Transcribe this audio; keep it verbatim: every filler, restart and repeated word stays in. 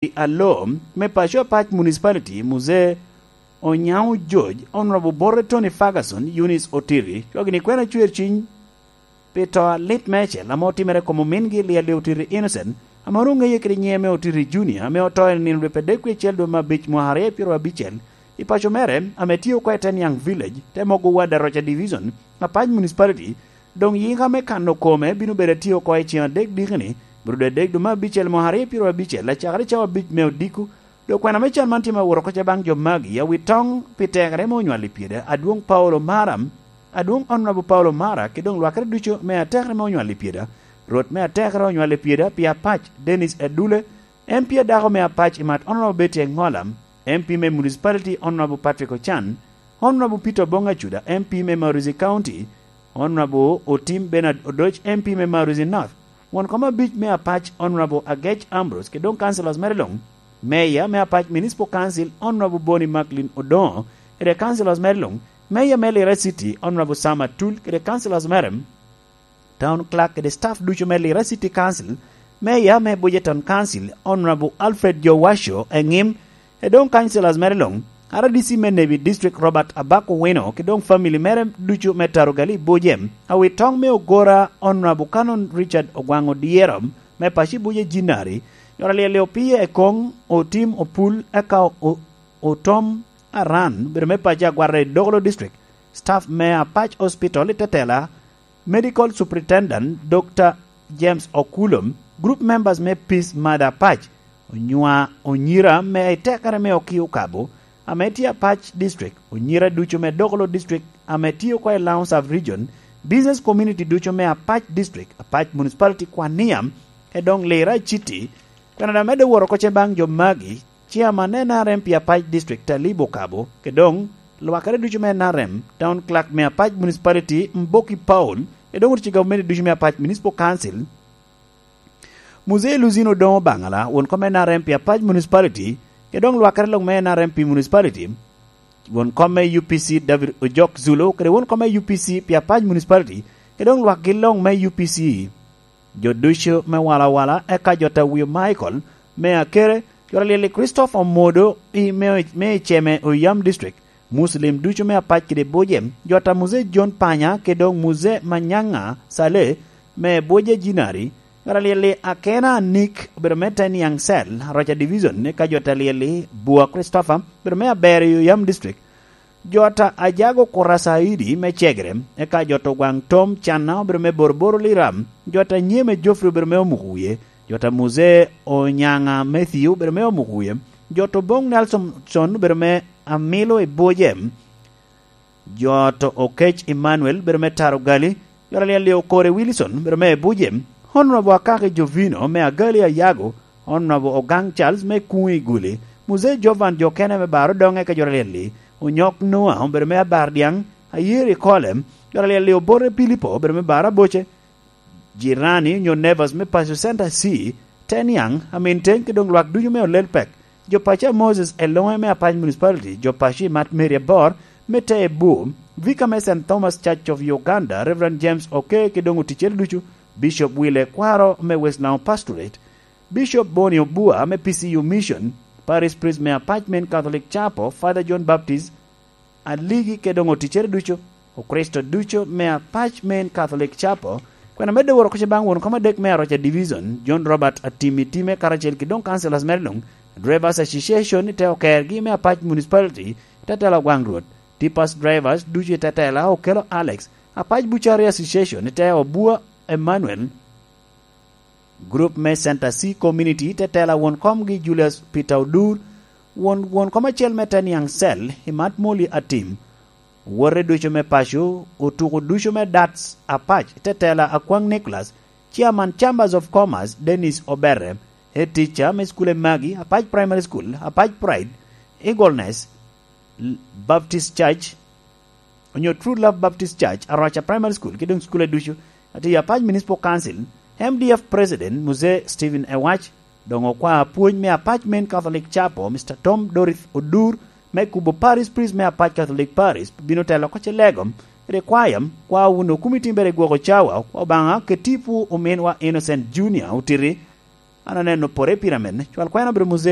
Aloo me paco Apac Municipality, Muzee Onyango George, Honorable Borre Tony Ferguson, Eunice Otiri, cwagini kwena cwer ciny pi to alit meicel ame otimere kom omingi Liali Otiri Innocent, ame onwoŋo ŋeye kede nyiŋe me Otiri Junior, ame oto i nino rwep adek wie acel dwe me abic mwaka aryo pyero abicel, i paco mere, ame tye oko i Teniang Village, te mogo ward Aroca Division, Apac Municipality, doŋ yika me kano kome bino bedo atye oko i ceŋ adek dikini, bro dwe adek dwe me abicel mwaka aryo pyero abicel, acakere cawa abic me odiko. Dok kwena me can man tye me wot oko ca baŋ jo magi, awi toŋ pi tekere me onywal i pyeda, adwoŋ Paulo Mara, adwoŋ Honorable Paulo Mara, ki doŋ lwakere ducu me atekere me onywal i pyeda, Rwot me atekere onywal i pyeda pi Apac, Dennis Edule, M P adako me Apac i mat Honorable Betty Engola, M P me Municipality Honorable Patrick Ochan, Honorable Peter Obong Acuda, M P me Maruzi County, Honorable Otim Bernard Odoc, M P me Maruzi North, won kom abic me Apac Honorable Agec Ambrose, ki doŋ councillors mere luŋ, Mayor me Apac Municipal Council Honorable Boni Macklin Odongo, kede councillors mere luŋ, Mayor me Lira City Honorable Sam Atul, kede councillors mere, Town Clerk kede staff ducu me Lira City Council, Mayor me Bujeton Council Honorable Alfred Jowacho Eŋim, e doŋ councillors mere luŋ, R D C me Nebi District Robert Abak Owino, ki doŋ family mere ducu me Tarugali Buje, awi toŋ me Ogora Honorable Canon Richard Ogwaŋ Odyero, me paci Buje Jinari, yora lyel opii e koŋ, otim opul, eka o-, otom aran, bedo me paci Agwata i Dogolo District, staff me Apac Hospital i Tetela, Medical Superintendent Doctor James Okulom, group members me Peace Mother Apac, onywa onyira me itekere me Okio Kabo, ame tye Apac District, onyira ducu me Dogolo District, ame tye oko i Laŋo Sub Region, business community ducu me Apac District, Apac Municipality Kwania, e doŋ Lira City, Canada medde woro oko ce baŋ jo magi, Chairman N R M pi Apac District Talib Okabo, ke doŋ lwakere ducu me N R M, Town Clerk me Apac Municipality Mboki Paul, ke doŋ otic gavumenti ducu me Apac Municipal Council, Muzee Luzino Doŋo Baŋala, won kom N R M pi Apac Municipality, ke doŋ lwakere lok me N R M pi Municipality, won kom me U P C David Ojok Zulu, kede won kom me U P C pi Apac Municipality, ke doŋ lwakgi lok me U P C. Jo ducu me walawala, eka jo ta wio Michael me Akere, jo ta lyel i Christopher Omodo i me, me i Ceme Oyam District, Muslim ducu me Apac kede Buje, jo ta Muzee John Panya, kede doŋ Muzee Manyanga Saleh me Buje Jinari, jo ta lyel i Akena Nick, obedo me Teniang Cell, Aroca Division, eka jo ta lyel i Bua Christopher, obedo me Aber i Oyam District, jo ta Ajago Kurasaidi me Cegere, eka jo ta Ogwaŋ Tom Canna obedo me Boroboro Liram, jo ta Nyeme Geoffrey obedo me Omuko Wie, jo ta Muzee Onyanga Matthew obedo me Omuko Wie, jo ta Oboŋ Nelson obedo me Amilo i Buje, jo ta Okec Emmanuel obedo me Taro Gali, jo ta Lyel Okore Wilson obedo me Buje, Honorable Akaki Jovino me Agali Ayago, Honorable Ogang Charles me Kuŋ i Guli, Muzee Jovan jo kene me Baro Doŋe ka jo ta Lyel-li, Onyok Noa obedo me Abar Dyaŋ, Ayeri Kole, jo ta Lyel-li Obote Pilipo obedo me Baro Aboce, Jirani onyo Nevers me Paco Center C, Teniang, Amin Teny ki doŋ lwak ducu me Olel Pek, jo paco a Moses Eloŋe me Apac Municipality, jo paco i Mat Mary Abor me Tee Bur, Vicar me Saint Thomas Church of Uganda, Reverend James Oke ki doŋ oticcere ducu, Bishop Wile Kwaro me West Laŋo Pastorate, Bishop Boni Obua me P C U Mission, Parish Priest me Apac Main Catholic Chapel, Father John Baptist Aligi kede doŋ oticcere ducu, Okricito ducu me Apac Main Catholic Chapel, kwena medde woro koca baŋ won kom adek me Aroca Division, John Robert Atimi Time karacel ki doŋ councillors mere luŋ, Drivers Association i te okergi me Apac Municipality, i te tela Ogwaŋ Rwot, Tipas Drivers ducu i te tela Okello Alex, Apac Bucari Association i te Obua Emmanuel, Group me Center C Community, te tela won komgi Julius Peter Odur, won, won kom acel me Teniang Cell, i Mat Moli Atim, wote ducu me paco, otuko ducu me Dats Apac, te tela Akwaŋ Nicholas, Chairman Chambers of Commerce, Dennis Oberre, Head Teacher me School e Magi, Apac Primary School, Apac Pride, Eagleness, Baptist Church, onyo True Love Baptist Church, Aroca Primary School, ki doŋ cukule ducu. Ati Apac Municipal Council, M D F President, Muzee Stephen Ewach, doŋ okwa apwony me Apac Main Catholic Chapel, Mister Tom Dorith Odur, me kubo Parish Priest me Apac Catholic Parish, bino telo oko ce lego, kede kwaya, kwa wun okumiti mere gwoko cawa, kwa Obaŋa, keti pu ominwa Innocent Junior otiti, An aneno pore i piramid-ni. Cwal kwena obedo muzee.